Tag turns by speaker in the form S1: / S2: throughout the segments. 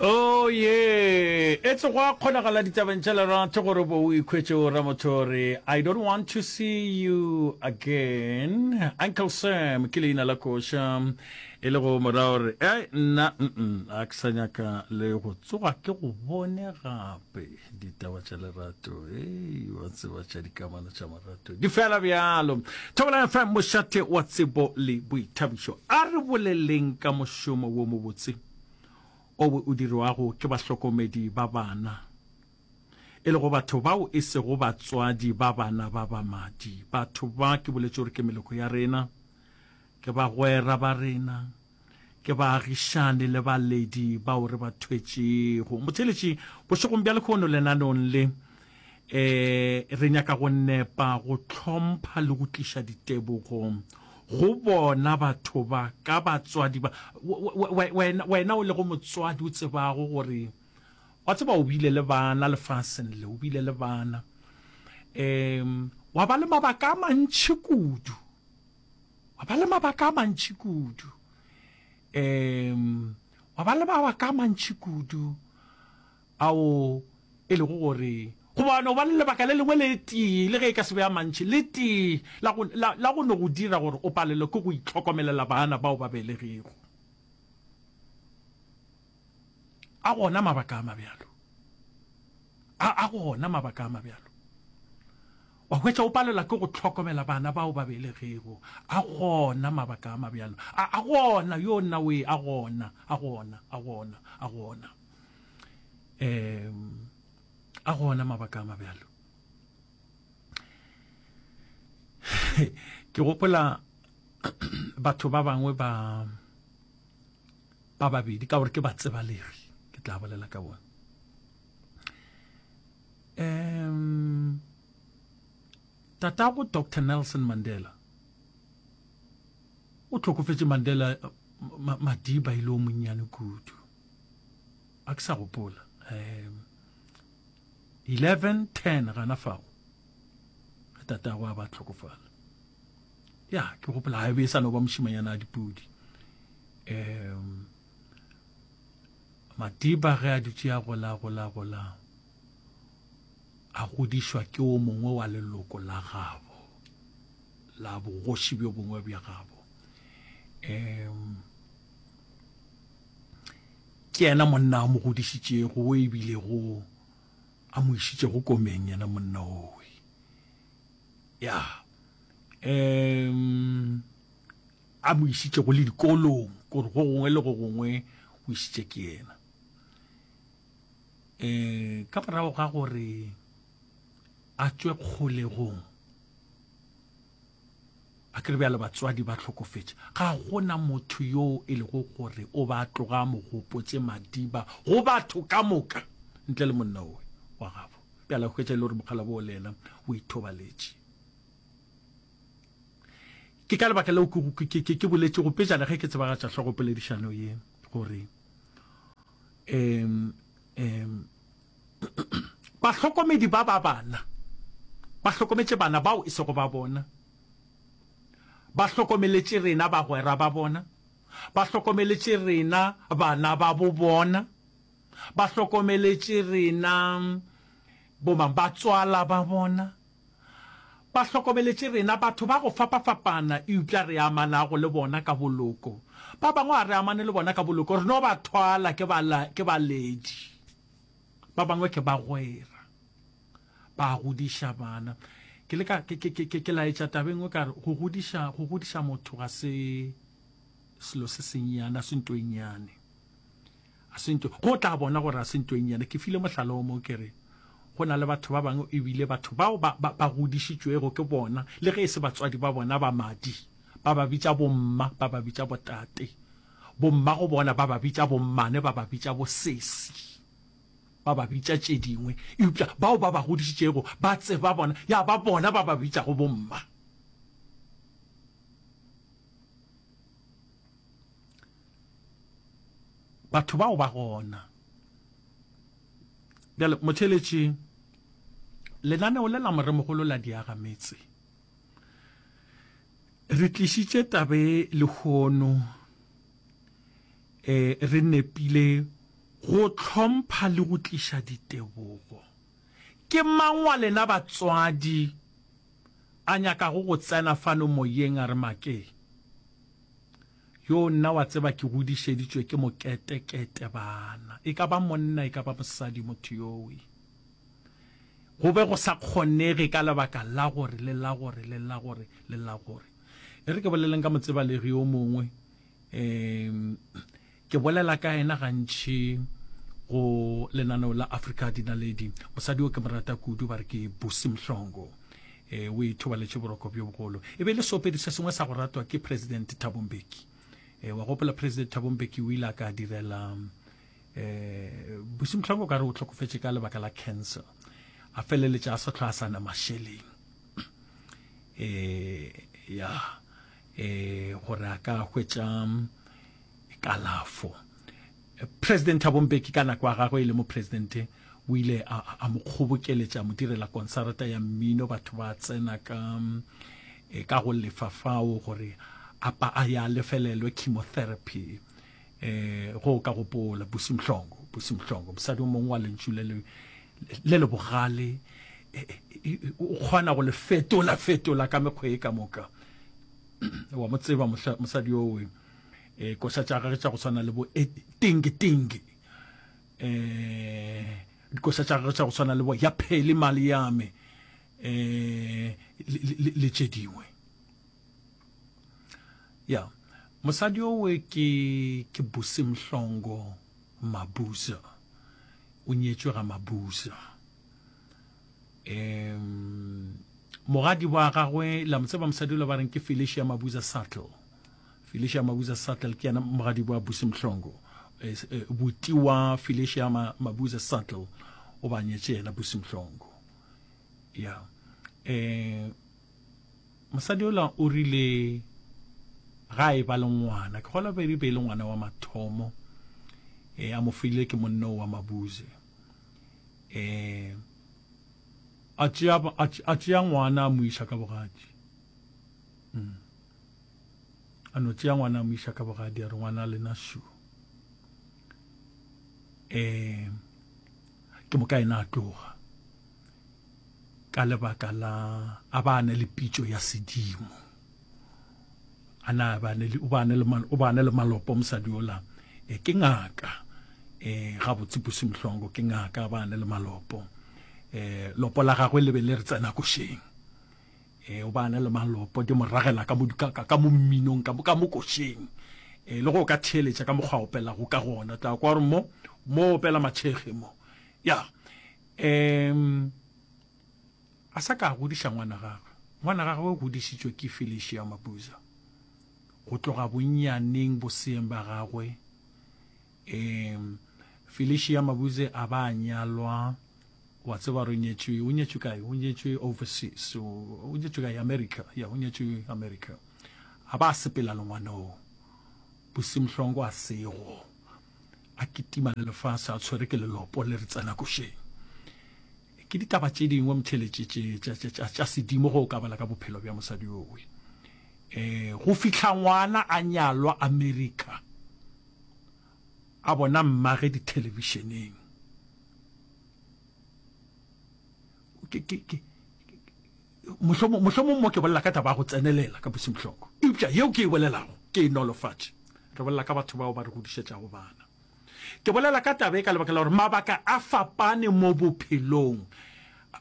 S1: Oh yeah, etse go a kgonagala ditabeng tša lerato gore bo o ikhwetše o ramotho gore I don't want to see you again. Uncle Sam ke leina la koša e le go mora gore e nna mm a ke sa nyaka le go tsoga ke go bone gape ditaba tša lerato e wa tseba tša dikamano tša marato di fela bjalo. Thobela FM mošate wa tsebo le boithabišo a re boleleng ka mošomo wo mobotse o o dirwago ke bahlokomedi ba bana, e lego batho bao e sego batswadi ba bana ba ba madi. Batho ba ke boletše gore ke meloko ya rena, ke bagwera ba rena, ke baagišani le baledi bao re ba thwetšego. Motheeletši, bošegong bja lehono lenaneong le, E, re nyaka go nepa, go hlompha le go tliša ditebogo go bona batho ba ka batswadi ba. Wena, wena o lego motswadi o tsebago gore, wa tseba o bile le bana lefaseng le, o bile le bana. Um, wa ba le mabaka a mantši kudu, wa ba le mabaka a mantši kudu, um, wa ba le mabaka a mantši kudu ao e lego gore goba no ba le lebaka le lengwe le tee, le ge e ka se be a mantši, le tee la go, la, la go no go dira gore o palelwe ke go itlhokomelela bana bao ba belegego. A gona mabaka a mabjalo. A, a gona mabaka a mabjalo. Wa hwetša o palelwa ke go hlokomela bana bao ba belegego. A gona mabaka a mabjalo. A, a gona, yo nna we, a gona, a gona, a gona, a gona. Um, a gona mabaka a mabjalo. Ke gopola batho ba bangwe ba ba babedi ka gore ke ba tsebalegi ke tla bolela ka bona um tatago Dr Nelson Mandela o hlokofetše Mandela Madiba ile o monnyane kudu a ke sa gopola um 11 10 gana fago ge tatago a ba hlokofala ya ke gopola ga e be e sa no ba mošimanyana a dipudi um Madiba ge a dutše a gola gola gola a godišwa ke o mongwe wa leloko la gabo la bogoši bjo bongwe bja gabo um ke yena monna a mo godišitšego o ebilego a mo išitšego komeng yena monna owe ya um a mo išitšego le dikolong gore go gongwe le go gongwe o išitše ke yena um ka morago ga gore a tšwe kgolegong a kere bjale batswadi ba hlokofetše ga gona motho yo e lego gore o ba tloga mo gopotše madiba go batho ka moka ntle le monna owe wa gabo bjale a hwetša e le gore mokgalabo o le yena o ithobaletše Ke ka lebaka leo ke, ke, ke, ke boletšego pejana ge ke tsebagatša hlogopoledišano ye gore um, um, bahlokomedi ba ba bana ba hlokometše bana bao e sego ba bona, ba hlokomeletše rena bagwera ba bona, ba hlokomeletše rena bana ba bo bona, ba hlokomeletše rena bomang batswala ba bona. Ba hlokomeletše rena batho ba go fapafapana eupša re amanago le bona ka boloko. Ba bangwe ga re amane le bona ka boloko, re no ba thwala ke ba, ke baledi. Ba bangwe ke bagwera. Ba godiša bana. Ke leka, ke, ke, ke, ke laetša taba e nngwe ka re, go godiša, go godiša motho ga se selo se sennyane, ga se nto e nnyane. A se nto, go tla bona gore a se nto e nnyane. Ke file mohlala o mongwe ke re, go na le batho ba bangwe ebile batho bao ba, ba, ba godišitšwego ke bona, le ge e se batswadi ba bona ba madi, ba ba bitša bomma, ba ba bitša botate. Bomma go bona ba ba bitša bommane, ba ba bitša bosesi, ba ba bitša tše dingwe. Eupša bao ba ba godišitšego ba tseba bona, ya ba bona ba ba bitšago bomma. Batho bao ba gona. Bjale, motheeletši, lenaneo le la Moremogolo la Diagametse, re tlišitše tabe lehono, e, re nepile. Go hlompha le go tliša ditebogo. Ke mang wa lena batswadi a nyakago go tsena fano moyeng a re make? Yo nna wa tseba ke godišeditšwe ke moketekete bana. E ka ba monna e ka ba mosadi motho yowe. Go be go sa kgonege ka lebaka la gore le la gore le la gore le la gore. E re ke boleleng ka motsebalegi yo mongwe um Ke bolela ka yena gantši go lenaneo la Afrika Dinaledi. Mosadi yo ke mo rata kudu, ba re ke Busi Mhlongo. E, o ithobaletše boroko bjo bogolo. E be e le seopedi se sengwe sa go ratwa ke President Thabo Mbeki. E, wa gopola President Thabo Mbeki o ile a ka direla e, Busi Mhlongo ka re o hlokofetše ka lebaka la cancer. A feleletša a sa hlwa a sa na mašeleng. E, ya, e, gore a ka hwetša kalafo. President Thabo Mbeki ka nako ya gagwe e le mopresidente o ile a, a mo kgobokeletša a mo direla konsarata ya mmino, batho ba tsena ka e, ka go lefa fao gore a pa a ya lefelelwe chemotherapy. Eh, go ka gopola Busi Mhlongo, Busi Mhlongo, mosadi o mongwe wa lentšu le le le le bogale, e, e, e, o kgona go le fetola fetola ka mekgwa e ka moka. Wa mo tseba mosadi yowe. E, koša tša gagwe tša go swana le bo e, tingi tingi, e, dikoša tša gagwe tša go swana le bo ya phele mali yame, e, le, le, le tše dingwe. Ya mosadi owe ke ke Busi Mhlongo Mabuza, o nyetšwe ga Mabuza. Um mogadi wa gagwe la mo tseba mosadi ola ba reng ke Felicia Mabuza Suttle. Felicia Mabuza Suttle ke yena mogadi wa Busi Mhlongo. Eh, eh, buti wa Felicia Mabuza Suttle o ba nyetše yena Busi Mhlongo. Ya. Eh mosadi ola o rile ga e ba le ngwana, ke gola be be le ngwana wa mathomo eh a mo file ke monna wa Mabuze. Eh a tšea a tšea ngwana a mo iša ka bogadi. Mm. A no tšea ngwana a mo iša ka bogadi a re ngwana lena shu. Eh ke moka ena a tloga ka lebaka la a ba ne le pitšo ya sedimo. A na ba ne le o ba ne le o ba ne le malopo mosadi ola e ke ngaka e ga botse Busi Mhlongo ke ngaka ba ne le malopo e lopo la gagwe le be le re tsena košeng. E, o ba na le malopo, di mo ragela ka mo, ka, ka, ka mo mminong, ka mo, ka mo košeng. E, le go o ka theeletša ka mokgwa a opelago ka gona, tla kwa gore mo, mo opela matšhege mo. Ya. Um, a sa ka a godiša ngwana gagwe. Ngwana gagwe o godišitšwe ke Felicia Mabuza. Go tloga bonnyaneng boseeng ba gagwe, um, Felicia Mabuze a ba a nyalwa Wa tseba gore o nyetšwe, o nyetšwe kae? O nyetšwe overseas, o, o nyetšwe kae? America, ya, o nyetšwe America. A ba a sepela le ngwanoo. Busi Mhlongo a sego. A kitima le lefase, a tshwere ke lelopo le re tsena košeng. Ke ditaba tše dingwe motheletše tše, tša, tša, tša, tša sedimo ge o ka bala ka bophelo bja mosadi yowe. Eh, go fihla ngwana a nyalwa America, a bona mmage dithelebišeneng. Ke, ke, ke, mohlomong, mohlomong mo ke bolela ka taba ya go tsenelela ka Busi Mhlongo, eupša yeo ke e bolelago ke e nolofatše. Re bolela ka batho bao ba re godišetšago bana. Ke bolela ka taba e ka lebaka la gore mabaka a fapane mo bophelong,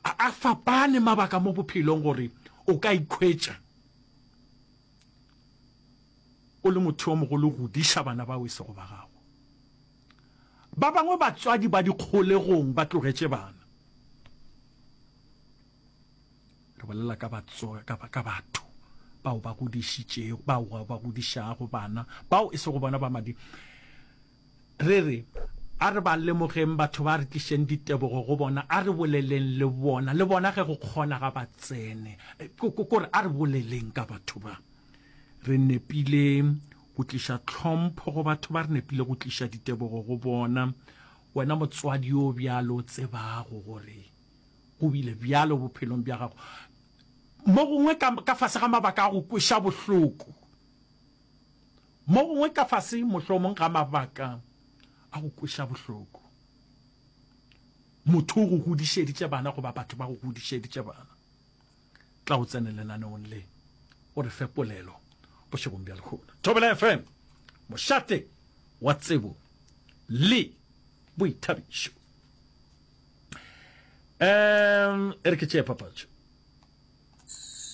S1: a, a fapane mabaka mo bophelong gore o ka ikhwetša o le motho yo mogolo o godiša bana bao e sego ba gago. Ba bangwe batswadi ba dikgolegong ba tlogetše bana. Re bolela ka batso, ka, ka batho bao ba godišitšego, bao ba godišago bana bao e sego bona ba madi. Re re, a re ba lemogeng batho ba, re tlišeng ditebogo go bona, a re boleleng le bona, le bona ge go kgona ga ba tsene. Ko re a re boleleng ka batho ba. Re nepile go tliša tlhompho go batho ba, re nepile go tliša ditebogo go bona. Wena motswadi yo bjalo o tsebago gore go bile bjalo bophelong bja gago, mo gongwe ka, ka fase ga mabaka a go kweša bohloko, mo gongwe ka fase mohlomong ga mabaka. A go kweša bohloko. Motho o go godišeditše bana goba batho ba go godišeditše bana. Tla o tsene lenaneong le o re fe polelo bošegong bja lehono. Thobela FM, mošate wa tsebo le boithabišo. Um, e re ke tšee papatšo.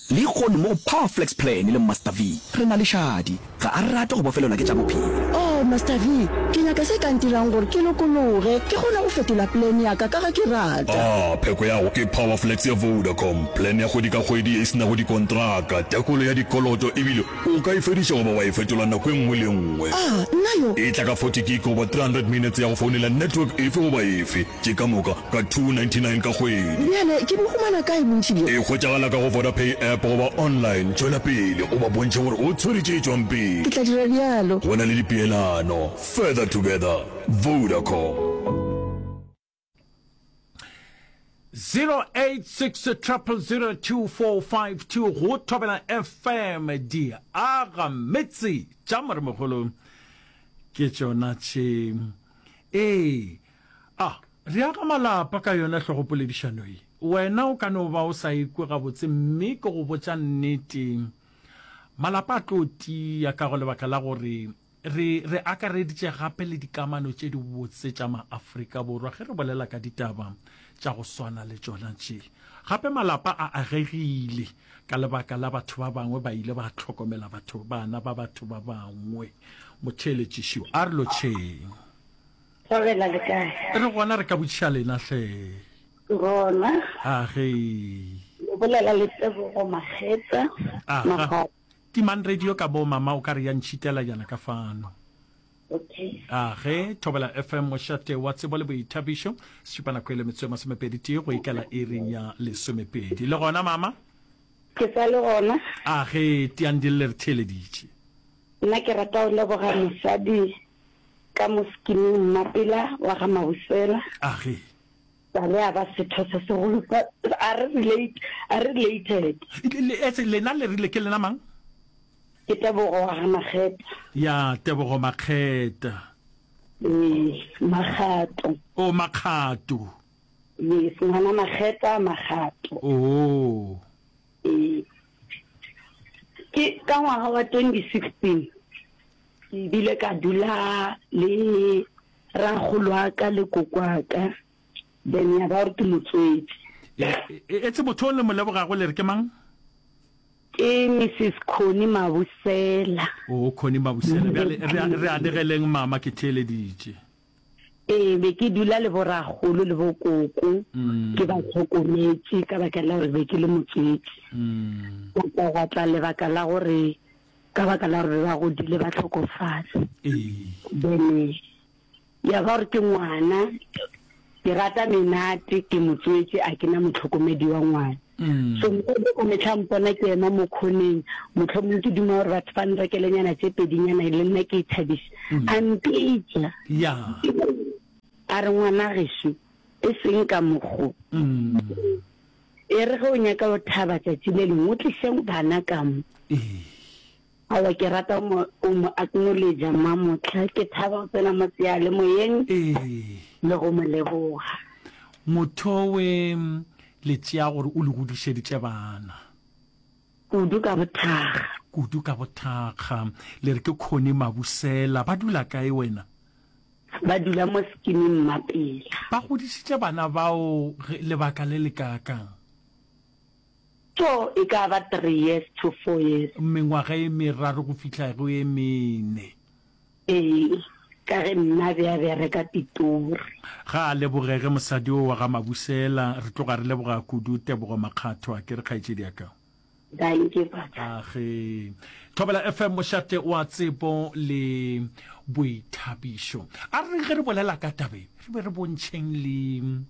S2: Lehono mo go Power Flex Plan le Master V, re na le Shadi. Ga a rate go bofelelwa ke tša bophelo.
S3: Oh, Master V, ke nyaka se ka ntirang gore ke lokologe, ke kgone go fetola plan ya ka ka ge ke rata.
S4: Ah, pheko ya go ke Power Flex ya Vodacom, plan ya kgwedi ka kgwedi ye e se nago dikontraka, tekolo ya dikoloto ebile o ka e fediša goba wa e fetola nako e nngwe le e nngwe.
S3: Ah, nna yo!
S4: E tla ka 40 gig goba 300 minutes ya go founela network efe goba efe. Tše ka moka ka 299 ka kgwedi.
S3: Bjale ke bo humana kae bontši bjo?
S4: E hwetšagala ka go Vodapay app goba online. Tšwela pele o ba bontšhe gore o tshwere tše tšwang pele.
S3: Ke tla dira bjalo.
S4: Go na le dipeelano. Further together. Vodacom.
S1: 086 0002452 go Thobela FM di aga metse tša moremogolo ke tšona tše. Ee, a re aga malapa ka yona hlogopoledišano ye. Wena o ka no ba o sa ikwe gabotse mme ke go botša nnete, malapa a tlo tia ka go lebaka la gore re, re akareditše gape le dikamano tše dibotse tša Maafrika Borwa ge re bolela ka ditaba tša go swana le tšona tše. Gape malapa a agegile ka lebaka la batho ba bangwe ba ile ba hlokomela batho, bana ba batho ba bangwe. Motheeletšišo, a re lotšheng.
S5: Thobela le kae?
S1: Re gona re ka botšiša lena hle.
S5: Gona.
S1: A ge.
S5: Le bolela le Tebogo Makgetla.
S1: Aga. Timang radio ka bo mama o ka re ya ntšhitela jana ka fano.
S5: Okay.
S1: A ge Thobela FM mošate wa tsebo le boithabišo se šupa nako e le metsotso e masomepedi tee go ikela iring ya lesomepedi. Le gona mama?
S5: Ke sa le gona.
S1: A ge tiang di lle re theeleditše.
S5: Nna ke rata go leboga mosadi ka mo skiming Mmapela wa ga Mabusela.
S1: Age.
S5: Sale a ba setho se segolo sa a re relate a re related.
S1: Etse lena le rile ke lena mang?
S5: Ke Tebogo wa ga Makgeta.
S1: Ya Tebogo Makgeta.
S5: Ee, Makgato.
S1: O Makgato.
S5: Yes, ngwana Makgeta Makgato.
S1: Oh.
S5: Ee. Ke ka ngwaga wa 2016 ke bile ka dula le rakgolo wa ka le koko wa ka, then ya ba gore ke mo tswetše.
S1: Etse motho o le mo lebogago le re ke mang?
S5: Ke Mrs Connie Mabusela.
S1: Oh, Connie Mabusela. Bjale re anegeleng mama ke theeleditše.
S5: Ee, be ke dula le borakgolo le bokoko, ke ba hlokometše ka baka la gore be ke le motswetši. Gwa tla gwa tla lebaka la gore ka baka la gore be ba godile ba hlokofala. Then ya ba gore ke ngwana, ke rata menate, ke motswetši, a ke na mohlokomedi wa ngwana. So mosadi ka mehla mpona ke ema mo khoneng, mohlomong ke duma gore batho ba nrekelenyana tše pedinyana le nna ke ithabiše. A mpitša. A re, Ngwana gešo, e seng ka mokgo. E re ge o nyaka go thaba tšatši le lengwe, o tliše bana ka mo. Aowa, ke rata go mo acknowledge Mamohla. Ke thaba go tsena mo seyalemoyeng le go mo leboga.
S1: Mothowe le tšea gore o le godišeditše bana.
S5: Kudu ka bothakga.
S1: Kudu ka bothakga. Le re ke Connie Mabusela. Ba dula kae wena?
S5: Ba dula mo Skiming Mmapela.
S1: Ba godišitše bana bao lebaka le le kaakang?
S5: So e ka ba three years to four years.
S1: Mengwaga e meraro go fihla go e mene.
S5: Ee, ka ge nna be a bereka Pitori.
S1: Ga a lebogege mosadi o wa ga Mabusela. Re tloga re leboga kudu Tebogo Makgatho, a ke re kgaetšedi ya ka.
S5: Dankie papa.
S1: Age. Thobela FM mošate wa tsebo le boithabišo. A re ge re bolela ka tabe, re be re bontšheng le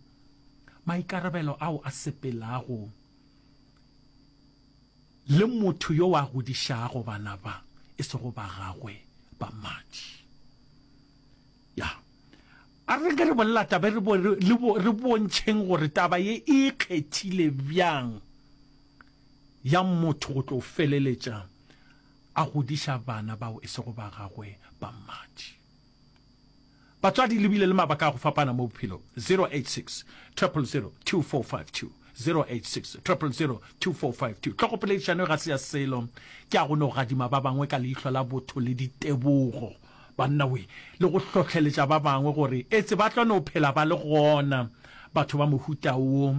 S1: Maikarabelo ao a sepelago le motho yo a godišago bana ba e sego ba gagwe ba madi. Ya. A re ke re bolela taba re, re bontšheng gore taba ye e ikgethile bjang ya motho go tlo feleletša a godiša bana bao e sego ba gagwe ba madi. Batswadi le bile le mabaka a go fapana mo bophelong. 086 000 2452 086 000 2452 Tlhogopoledišano ga se ya selo, ke ya go no gadima ba bangwe ka leihlo la botho le ditebogo, banna we, le go hlohleletša ba bangwe gore etse ba tlo no phela ba le gona batho ba mohuta wo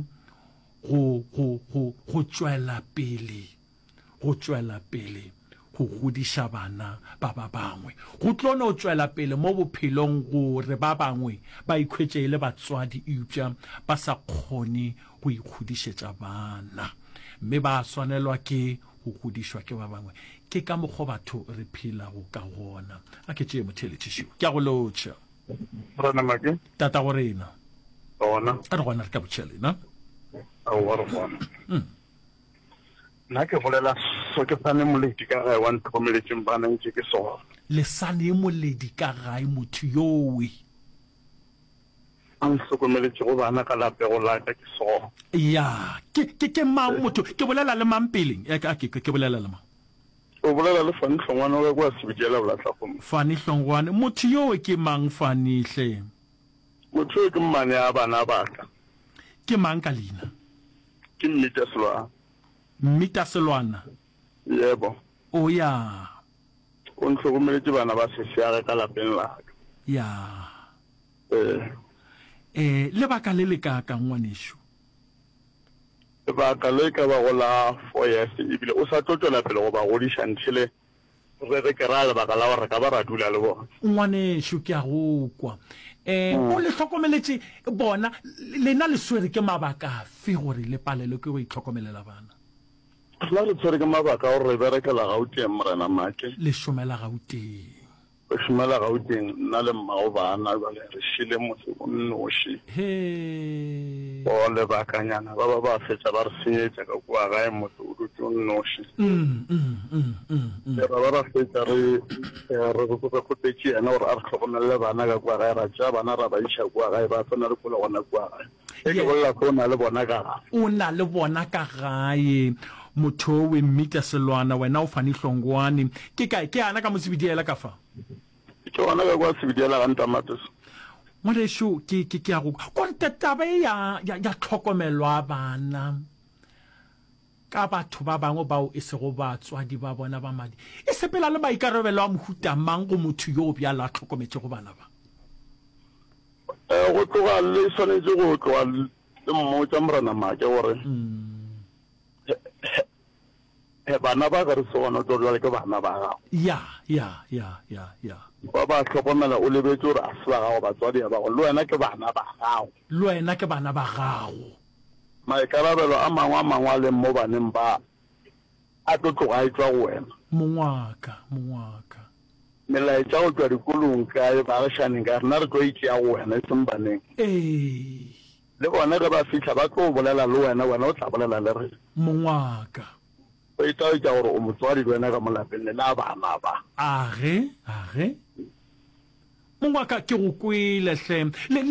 S1: go, go, go, go tšwela pele. go tšwela pele go godiša bana ba ba bangwe. Go tlo no tšwela pele mo bophelong gore ba bangwe ba ikhwetše e le batswadi eupša ba sa kgone go ikgodišetša bana mme ba swanelwa ke go godišwa ke ba bangwe. Ke ka mokgo batho re phelago ka gona. A ke tšee motheeletši šo. Ke a go lotšha.
S6: Morena Make.
S1: Tatago rena.
S6: Gona.
S1: A re gona re ka botšha lena.
S6: Aowa re gona. Mm. Nna ke bolela so ke sane moledi ka gae wa ntlhokomeletšeng bana ntše ke sona.
S1: Le sane moledi ka gae motho yowe.
S6: A ntlhokomeletšego bana ka lapego la ka ke sona.
S1: Ya, ke, ke, ke mang motho? Ke bolela le mang peleng? E, ke, ke, ke bolela le mang?
S6: O bolela le Fani Hlongwane wa ka kua Sebediela Bolahlakgong.
S1: Fani Hlongwane, motho yowe ke mang Fani hle?
S6: Motho yowe ke mmane a bana ba ka.
S1: Ke mang ka leina?
S6: Ke Mmita Selwana.
S1: Mmita Selwana?
S6: Yebo.
S1: O ya.
S6: O ntlhokomeletše bana ba sesiage ka lapeng la ka.
S1: Ya.
S6: Ee.
S1: Eh, lebaka le le kaakang ngwanešu?
S6: Lebaka le ka bago la four years ebile o sa tlo tšwela pele go ba godiša until Re re ke ra lebaka la gore re ka ba ra dula le bona.
S1: Ngwanešu, ke a go kwa. Um, o le hlokomeletše bona, lena le swere ke mabaka afe gore le palelwe ke go itlhokomelela bana?
S6: Rena re tshwere ke mabaka a gore re berekela Gauteng, Morena Make.
S1: Le šomela Gauteng.
S6: Re šomela Gauteng, nna le mmago bana, bjale re šele motse o nnoši.
S1: Hee.
S6: For lebakanyana ba ba ba fetša ba re senyetša ka kua gae, motse o dutše o nnoši. Ra ba ra fetša re re re kgopetše yena gore a re hlokomelele bana ka kua gae, ra tšea bana ra ba iša kua gae, ba tsena dikolo gona kua gae. Ge ke bolela se o na le bona ka gae.
S1: O na le bona ka gae. Motho owe Mmita Selwana, wena o Fani Hlongwane. Ke kae? Ke ana ka mo Sebediela ka fa?
S6: Ke gona ka kwa Sebediela ga Ntamateso.
S1: Ngwanešu, ke, ke, ke a go kwa. Konte taba e ya, ya, ya tlhokomelo ya bana ka batho ba bangwe bao e sego batswadi ba bona ba madi, e sepela le maikarabelo a mohuta mang go motho yo bjalo a hlokometšego bana ba?
S6: Eh, go tloga le swanetše go tloga le mmotša Morena Make gore he bana ba ge re se gona tlo jale ke bana ba gago.
S1: Ya, ya, ya, ya, ya.
S6: Ba ba hlokomela o lebetše gore a se ba gago batswadi ba gago le wena ke bana ba gago.
S1: Le wena ke bana ba gago.
S6: Maikarabelo a mangwe a mangwe a leng mo baneng ba a tlo tloga a etšwa go wena.
S1: Mong wa ka, mong wa ka.
S6: Melaetša go tšwa dikolong kae, baagišaning kae, rena re tlo e tšea go wena, e seng baneng.
S1: Ee.
S6: Le bona ge ba fihla ba tlo bolela le wena, wena o tla bolela le rena.
S1: Mong wa ka.
S6: Go itaetša gore o motswadi le wena ka mo lapeng le la bana ba.
S1: Age, age. Mong wa ka, ke go kwele hle. Le, le.